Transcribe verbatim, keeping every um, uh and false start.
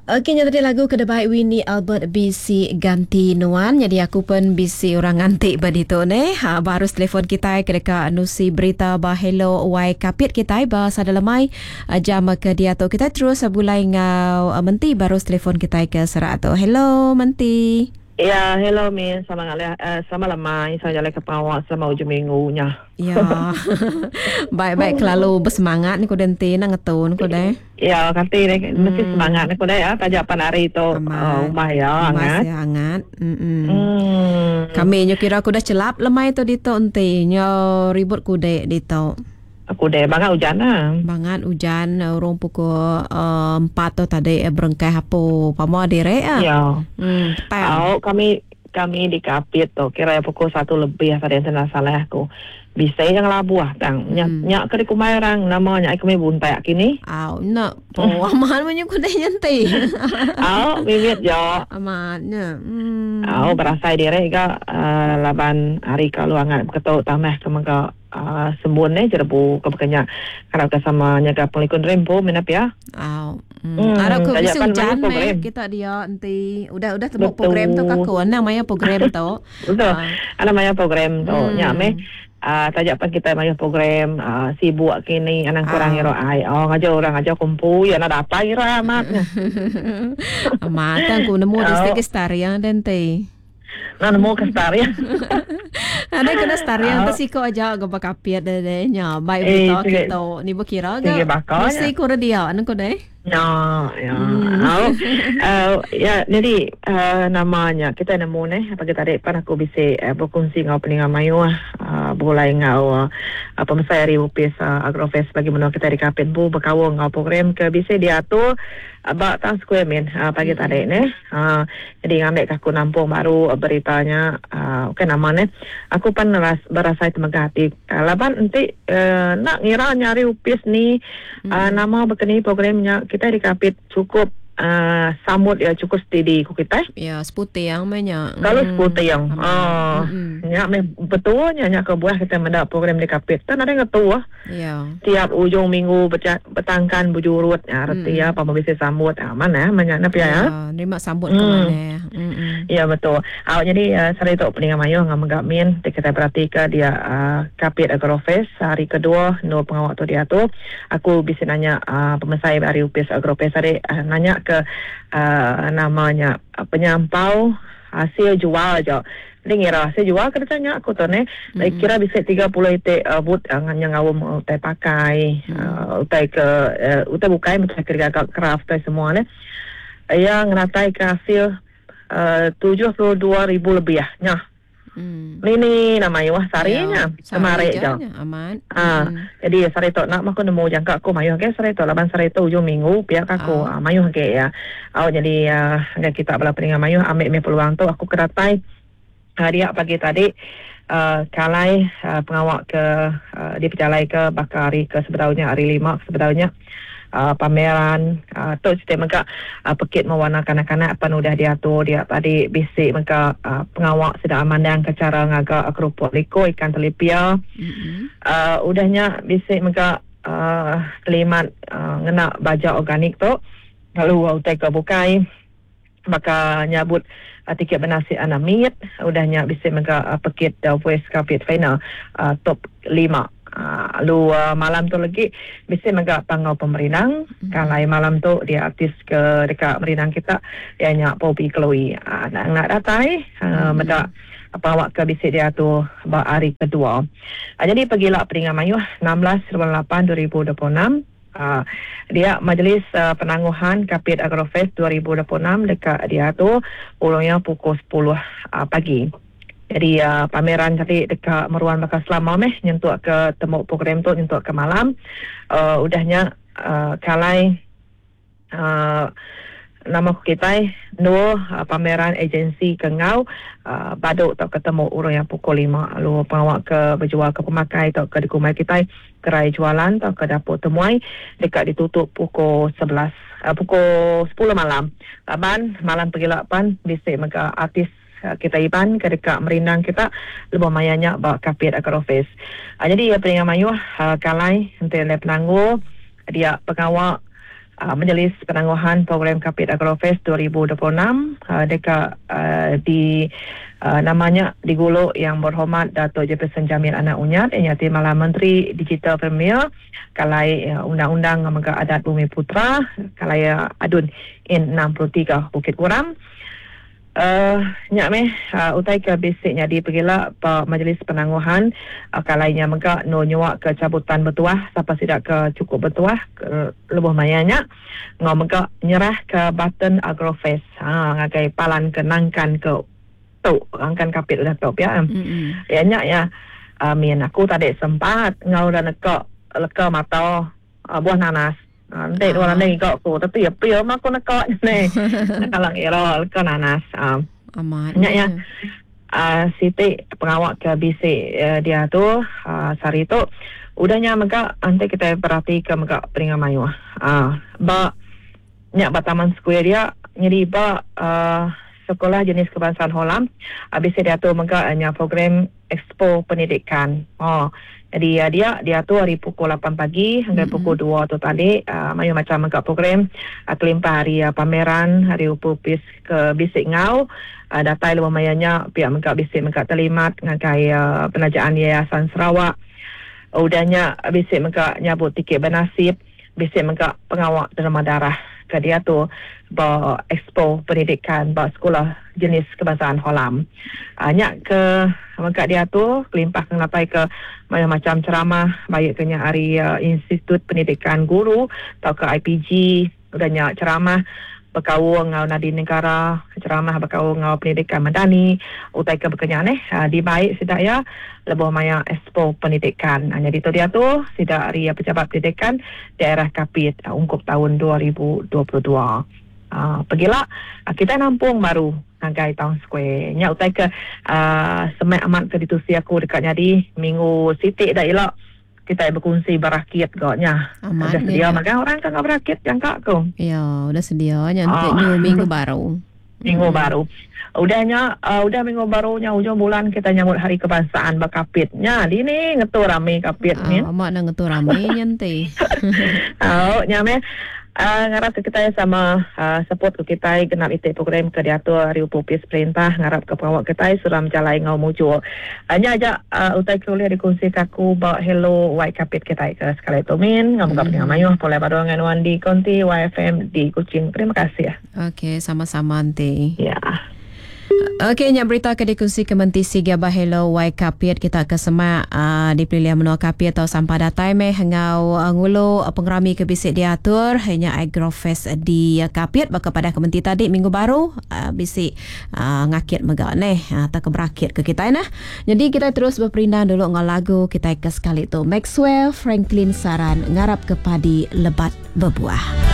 Okey, nya tadi lagu ke debai Winnie Albert B C Ganti Nuan. Jadi aku pun B C orang nganti ba ditu ne. Ha, baru telefon kita ke dekat nusi berita ba Hello Y Kapit kita ba sada lemai jam ke dia tu. Kita terus bulai ngau menti baru telefon kita ke serak tu. Hello menti. Ya, hello Min, selamat ngalih, uh, selamat lemai, saya jalan ke pawak selama ujung minggunya. Ya. Baik-baik kelalu bersemangat ni ku denti nak ngetun ku deh. Ya, kati ni hmm. mesti semangat ni ku deh ya, tajak pan hari tu uh, rumah ya hangat. Ya hangat. Mm-mm. Hmm. Kami nyo kira aku dah celap lemai tu ditu enti nyo ribut ku dek ditu. Aku deh bangat hujan lah. Bangat hujan urang pukul uh, empat tu tadi berengkai hapu pama direk ah. Ya. Hmm, petang. Oh, kami kami di Kapit tu kira pukul satu lebih tadi yang salah aku. Bisa yang labuh tang. Nyak hmm. nyak ke kumai orang namanya kami buntai kini. Aw, nak po aman menyu ku deh nyanti. Aw, mimit jo. Amannya. Hmm. Aw, berasai direk ga uh, laban hari kalau hangat beketuk tamah ke mega Uh, sembun ni jerebu ke bekenya kalau ke sama nyaga pengelikun rempo minap ya. Aw. Hmm. Hmm. Arab ke bisi hujan meh kita dia nanti udah udah temu program tu kaku ana maya program tu. Betul. Uh. Ana maya program tu hmm. nya meh uh, tajak pan kita maya program uh, sibuk kini anang kurang hero ai. Oh ngajar orang ngajar kumpu ya nak dapat kira amatnya. Amat aku nemu di segi stariang nanti. Nah, nemu ke stariang. Ada kena stariang tu siko aja go bakapiat deh deh nya. Baik berita kita ni berkira ga. Mesti ku dia anu ku deh. Ya, ya. Oh, uh, ya jadi uh, namanya kita nemu neh pagi tadi pan aku bisa uh, berkongsi ngau peningan mayu uh, berulai ngau uh, pemesai hari upis uh, Agrofest bagi menua kita di Kapit bu berkawal ngau program ke bisa diatur uh, bak Town Square min uh, pagi hmm. tadi neh. Uh, jadi ngambil aku nampung baru uh, beritanya uh, okey nama neh. Aku pan ras, berasa temegah hati. Uh, laban nanti uh, nak ngira nyari upis ni hmm. uh, nama berkeni programnya kita di Kapit cukup uh, sambut ya cukup steady ku kita. Ya, seputih yang banyak. Kalau hmm. seputih yang ah hmm. nya betulnya nya ke buah kita mendak program di Kapit. Tan ada ngetua. Ya. Tiap ujung minggu betangkan bujurut ya reti ya apa bisa sambut ah mana banyak nak ya. Ya, nerima sambut ke mana. Hmm. Ya betul. Ah jadi uh, sari tu peningan mayu ngam megak min kita perhatikan dia uh, Kapit Agrofest hari kedua no pengawak tu dia tu. Aku bisa nanya uh, pemesai hari upis Agrofest hari uh, nanya ke uh, namanya uh, penyampau hasil jual aja. Ni ngira hasil jual kena tanya aku tu ne. Mm-hmm. Kira bisa tiga puluh itik uh, but uh, yang ngawum uh, utai pakai, mm. uh, utai ke uh, utai bukai macam kerja craft tai semua ne. Yang ngatai ke hasil uh, tujuh puluh dua ribu lebih ya. Nyah. Hmm. Ini nama wah sarinya kemarin je. Aman. Ah, hmm. Jadi sari tu nak aku nemu jangka aku mayuh ke sari tu laban sari tu ujung minggu pihak aku oh. mayuh ke ya. Oh jadi uh, kita bala peningan mayuh ambil me peluang tu aku kedatai hari pagi tadi uh, kalai uh, pengawak ke uh, di pejalai ke bakal hari ke sebetulnya hari lima sebetulnya. Uh, pameran uh, tu cerita mega uh, pekit mewarna kanak-kanak pan udah diatur dia tadi bisik mega uh, pengawak sedang amandang ke cara ngagak kerupuk liko ikan telipia mm-hmm. uh, udahnya bisik mega uh, kelimat uh, ngena baja organik tu lalu utai ke bukai maka nyabut uh, tiket bernasib anamit udahnya bisik mega uh, pekit uh, voice Kapit final uh, top lima. Lalu uh, malam tu lagi bisa mega pangau pemerinang mm-hmm. Kalau malam tu dia artis ke dekat merinang kita dia nyak Poppy Chloe uh, nak nak datai uh, mm-hmm. Medak apa awak ke bisik dia tu hari kedua. Uh, jadi pergilah peringan mayuh enam belas lapan dua ribu dua puluh enam. Uh, dia majlis uh, penangguhan Kapit Agrofest dua ribu dua puluh enam dekat dia tu ulungnya pukul sepuluh uh, pagi. Jadi uh, pameran tadi dekat Meruan bakal selama meh nyentuk ke temu program tu nyentuk ke malam. Uh, udahnya uh, kalai uh, nama kita no uh, pameran agensi ke ngau uh, baduk tak ketemu orang yang pukul lima lalu pengawak ke berjual ke pemakai atau ke di kumai kita gerai jualan atau ke dapur temuai dekat ditutup pukul sebelas uh, pukul sepuluh malam. Laban malam pergi lapan bisik mega artis kita iban ke dekat merindang kita lebih mayanya bak Kapit Agrofest. Uh, jadi ya peringan mayuh uh, kalai nanti le penanggu dia pengawak Uh, Majlis Penangguhan Program Kapit Agrofest dua ribu dua puluh enam uh, dekat uh, di uh, namanya diguluk Yang Berhormat Dato' Jefferson Jamit Anak Unyat yang nyati malam Menteri Digital Premier kalai uh, Undang-Undang Mega Adat Bumi Putra kalai uh, Adun N enam puluh tiga Bukit Goram. Uh, nyak meh uh, utai ke bisiknya di pergila pa Majlis Penangguhan uh, kalainya mega no nyuak ke cabutan bertuah siapa sidak ke cukup bertuah ke lebuh mayanya ngau mega nyerah ke button Agrofest ha ngagai palan ke nangkan ke tu angkan Kapit udah tu ya. Mm-hmm. Ya nyak ya amin uh, aku tadi sempat ngau dah nekak leka mata uh, buah nanas. Nanti dua orang ni kau aku tapi ya pia mah aku nak kau ni kalau ngira kau nanas amat nyak ya Siti pengawak ke bisik dia tu sehari tu udahnya mega nanti kita berhati ke mega peringat mayu ah ba nyak ba taman square dia jadi ba sekolah jenis kebangsaan Holam habis dia tu mega nya program expo pendidikan. Oh jadi uh, dia dia tu hari pukul lapan pagi hingga mm-hmm. pukul dua tu tadi uh, mayu macam mega program uh, kelimpah hari uh, pameran hari upupis ke bisik ngau uh, datai luar mayanya pihak mega bisik mega terlimat ngagai uh, penajaan Yayasan Sarawak. Udahnya bisik mega nyabut tiket bernasib bisik mega pengawak derma darah ke dia tu ba expo pendidikan ba sekolah jenis kebangsaan Holam. Uh, nyak ke mega dia tu kelimpah ke ngapai ke macam-macam ceramah baik kenya hari uh, Institut Pendidikan Guru atau ke I P G udahnya ceramah berkau ngau nadi negara ceramah berkau ngau pendidikan madani utai ke berkenya neh uh, di baik sidak ya lebuh maya expo pendidikan. Jadi tu dia tu sidak hari uh, pejabat pendidikan daerah Kapit uh, ungkup tahun dua ribu dua puluh dua. Uh, pergilah uh, kita nampung baru ngagai Town Square. Nya utai ke uh, semak amat ke ditusi aku dekat nyadi minggu sitik dah elok kita berkongsi berakit goknya. Udah sedia makan orang kan berakit jangka aku. Ya, udah sedia nya oh. New minggu baru. Minggu hmm. baru. Udahnya uh, udah minggu barunya ujung bulan kita nyambut hari kebangsaan bakapitnya. Di ni ngetu rame Kapit ni. Ah, mak nak ngetu rame nyanti. Oh, nyame. Uh, ngarap ke kita sama uh, support ke kita genap itik program ke diatur hari upupis perintah ngarap ke pengawak kita suram jalai ngau muncul. Hanya uh, aja uh, utai kuliah dikongsi kaku bawa hello white Kapit kita ke sekali tu min ngau buka mm-hmm. mayuh boleh baru dengan Wandi Konti Y F M di Kuching. Terima kasih ya. Okey, sama-sama nanti. Ya. Okey, nyak berita ke dikongsi ke Menti Siga Bahelo Y Kapit kita ke semak uh, di pilihan menua Kapit atau sampah datai meh ngau uh, ngulu uh, pengerami ke bisik diatur hanya Agrofest di uh, Kapit baka pada ke Menti tadi minggu baru uh, bisik uh, ngakit mega neh atau uh, ke berakit ke kita nah. Jadi kita terus berperindang dulu ngau lagu kita ke sekali tu Maxwell Franklin Saran ngarap ke padi lebat berbuah.